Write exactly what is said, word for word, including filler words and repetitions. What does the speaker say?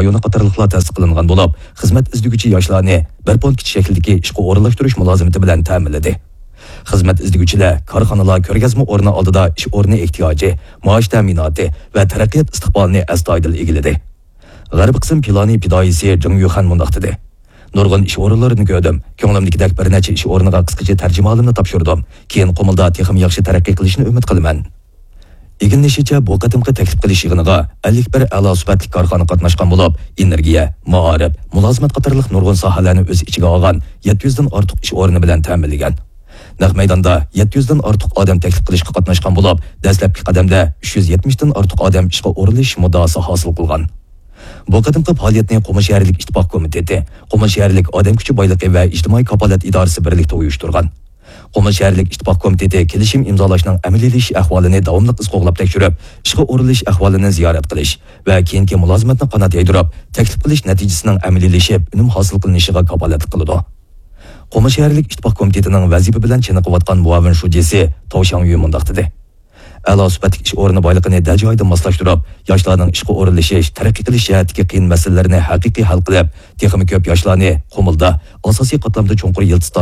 رايونى قاتارلىقلار تەستىق قىلىنغان بولۇپ، خىزمەت ئىزدىگۈچى ياشلارنى بىر پونكىت شەكلىدىكى ئىشقا ئورۇنلاشتۇرۇش مۇلازىمىتى بىلەن تەمىنلىدى. خىزمەت ئىزدىگۈچىلەر كارخانىلار كۆرگەزمە ئورنى ئالدىدا ئىش ئورنى ئېھتىياجى، مائاش تەمىناتى ۋە تەرەققىيات ئىستىقبالىنى ئەستايىدىل ئىگىلىدى. غەربىي قىسىم پىلانى پىدائىيسى جېڭ يۈخەن مۇنداق دېدى: نۇرغۇن ئىش ئورۇنلىرىنى كۆردۈم. كۆڭلۈمدىكىدەك بىر نەچچە ئىش ئورنىغا قىسقىچە تەرجىمىھالىمنى تاپشۇردۇم. كېيىن قۇمۇلدا تېخىمۇ ياخشى تەرەققىي قىلىشنى ئۈمىد قىلىمەن. ئىگىلىنىشىچە، بۇ قېتىمقى تەكلىپ قىلىش يىغىنىغا ئەللىك بىر ئەلا سۈپەتلىك كارخانا قاتناشقان بولۇپ، ئېنېرگىيە، مائارىپ، مۇلازىمەت قاتارلىق نۇرغۇن ساھەلەرنى ئۆز ئىچىگە ئالغان يەتتە يۈزدىن ئارتۇق ئىش ئورنى بىلەن تەمىنلىگەن. نەق مەيداندا يەتتە يۈزدىن ئارتۇق ئادەم تەكلىپ قىلىشقا قاتناشقان بولۇپ، دەسلەپكى قەدەمدە ئۈچ يۈز يەتمىشتىن ئارتۇق ئادەم ئىشقا ئورۇنلىشىش مۇددىئاسى ھاسىل قىلغان. بۇ قېتىمقى پائالىيەتنى قۇمۇل شەھەرلىك ئىتتىپاق كومىتېتى، قۇمۇل شەھەرلىك ئادەم كۈچى بايلىقى ۋە ئىجتىمائىي كاپالەت ئىدارىسى بىرلىكتە ئۇيۇشتۇرغان. قۇمۇل شەھەرلىك ئىتتىپاق كومىتېتى كېلىشىم ئىمزالاشنىڭ ئەمەلىيلىشىش ئەھۋالىنى داۋاملىق ئىز قوغلاپ تەكشۈرۈپ، ئىشقا ئورۇنلىشىش ئەھۋالىنى زىيارەت قىلىش ۋە كېيىنكى مۇلازىمەتنى قانات يايدۇرۇپ، تەكلىپ قىلىش نەتىجىسىنىڭ ئەمەلىيلىشىپ، ئۈنۈم ھاسىل قىلىنىشىغا كاپالەتلىك قىلىدۇ. قۇمۇل شەھەرلىك ئىتتىپاق كومىتېتىنىڭ ۋەزىپە بىلەن چېنىقىۋاتقان مۇئاۋىن شۇجىسى تاۋ شاڭيۈ مۇنداق دېدى: ئەلا سۈپەتلىك ئىش ئورنى بايلىقىنى دەل جايىدا ماسلاشتۇرۇپ، ياشلارنىڭ ئىشقا ئورۇنلىشىش، تەرەققىي قىلىش جەھەتتىكى قىيىن مەسىلىلىرىنى ھەقىقىي ھەل قىلىپ، تېخىمۇ كۆپ ياشلارنى قۇمۇلدا ئاساسىي قاتلامدا چوڭقۇر يىلتىز تارتىپ